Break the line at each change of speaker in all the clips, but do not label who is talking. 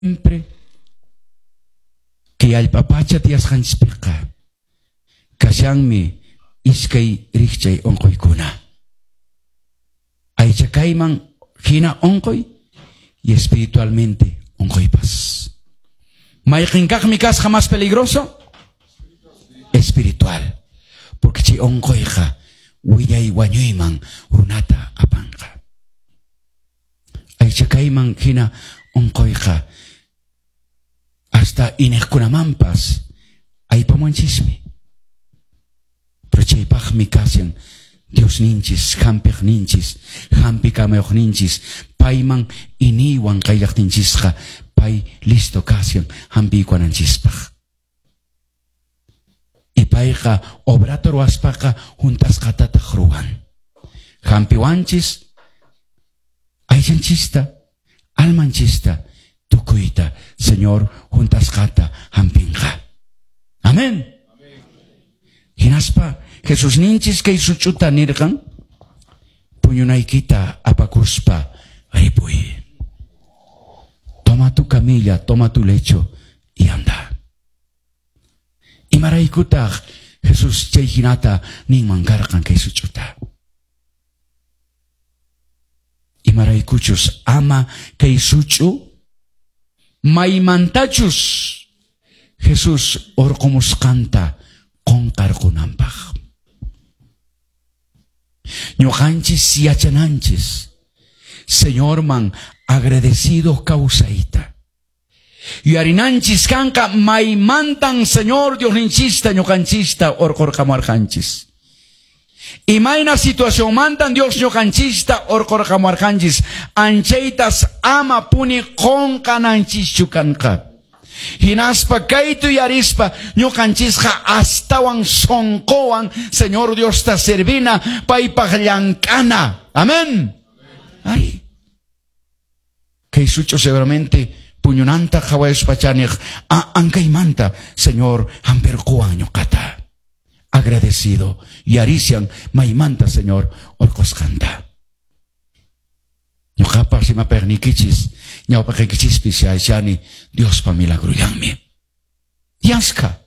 Siempre kay allpa pacha tiyasqanchispiqa kashanmi iskay rikchay unquykuna. Aycha kayman hina unquy y espiritualmente unquypas. Mayqinkaqmi kasqa más peligroso? Espiritual. Porque chay unquyqa wiñay wañuyman runata apanqa. Aycha kayman hina unquyqa hasta iñiqkunamanpas aypamunchismi. Pero chaypaqmi kashan Diosninchis, hampiqninchis, hampikamayuqninchis, payman iniywan qayllaqtinchisqa pay listo kashan hampiykuwananchispaq. Y payqa obrata ruwaspaqa hunt'asqatataq ruwan. Hampiwanchis aychanchista, almanchista, tukuyta Señor hunt'asqata hampinqa. Amén. Hinaspa Jesus ninchis kay such'uta nirqan puñunaykita apakuspa ripuy. Toma tu camilla, toma tu lecho y anda. Imaraykutaq Jesus chay hinata ninman karqan kay such'uta. Imaraykuchus ama kay such'u maymantachus Jesus urqumusqanta qunqarqunanpaq. Ñuqanchis yachananchis Señorman agradecido kawsayta. Yuyarinanchis kanqa maymantan Señor Diosninchista ñuqanchista urqurqamuarqanchis. Imayna situacionmantan Dios ñuqanchista urqurqamuarqanchis, anchaytas ama puni qunqananchischu kanqa. Hinaspa kaytu yarispa ñuqanchisqa astawan sunquwan Señor Diosta servina paypaq llank'ana. Amén. Ay. Kay such'u seguramente puñunanta qhawayuspa chaniq ankaymanta Señor hampirquwan ñuqata. Agradecido yarisian maymanta Señor urqusqanta. Ñuqapas imapaqniykichis ñawpaqaykichispis yachani Diospa milagrullanmi. Yaska.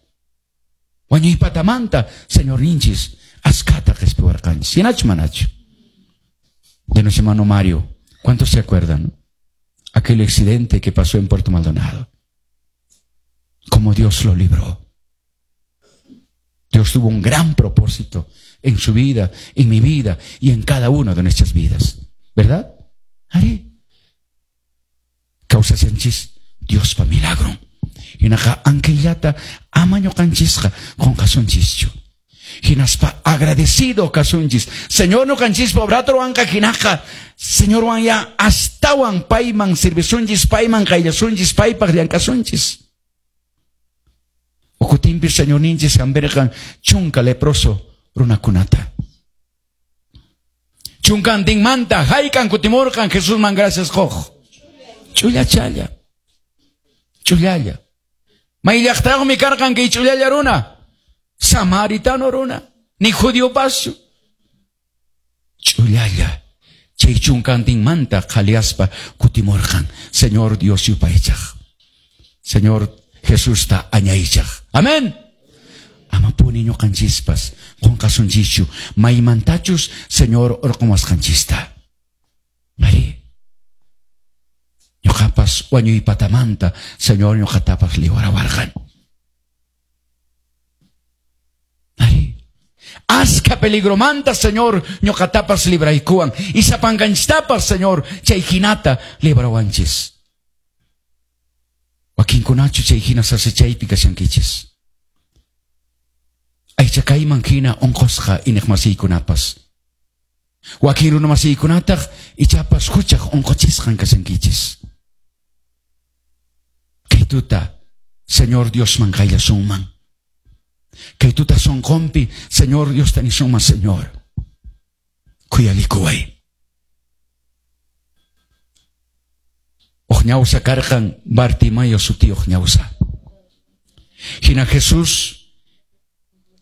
Wañuypatamanta Señorninchis askata qhispiwarqanchis. Hinachu manachu? De nuestro hermano Mario, ¿cuántos se acuerdan? Aquel accidente que pasó en Puerto Maldonado. Cómo Dios lo libró. Dios tuvo un gran propósito en su vida, en mi vida y en cada una de nuestras vidas. ¿Verdad? Ari. Kawsashanchis Diospa milagro. Hinaqa ankillata ama ñuqanchisqa qunqasunchischu. Hinaspa agradecido kasunchis. Señor ñuqanchispa obrata ruwanqa hinaqa Señorwan ya astawan payman servisunchis, payman qayllasunchis, paypaq llank'asunchis. Ukutinpi Señorninchis hampirqan chunka leproso runakunata. Chunkantinmanta hayk'an kutimurqan Jesusman gracias quq. Ch'ullachalla. Ch'ullalla. May llaqtayuqmi karqan kay ch'ullalla runa. Samaritano runa. Ni judiopaschu. Ch'ullalla. Chay chunkantinmanta qhaliaspa kutimurqan Señor Dios yupaychaq. Señor Jesusta añaychaq. Amén. Amapuni ñuqanchispas qunqasunchischu maymantachus Señor urqumusqanchista. Mari. Ñuqapas wañuypatamanta Señor ñuqatapas liwarawarqan. Mari. Aska peligromanta Señor ñuqatapas libraykuwan y sapankanchistapas Señor chay hinata librawanchis. Wakinkunachu chay hina sasachaypi kashankichis. Aycha kayman hina unqusqa iñiqmasiykunapas. Wakin runamasiykunataq ichapas huchaq unquchisqan kashankichis. Kay tuta Señor Diosman qayllasunman. Kay tuta sunqunpi Señor Diosta nisunman, Señor, khuyalikuway. Uq ñawsa karqan Bartimayo sutiyuq ñawsa. Hina Jesús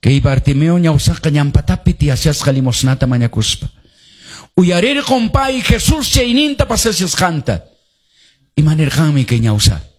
kay Bartimeo ñawsaqa ñampatapi tiyashasqa limosnata mañakuspa. Uyarirqun pay Jesús chayninta pasashasqanta. Imanirqanmi kay ñawsa?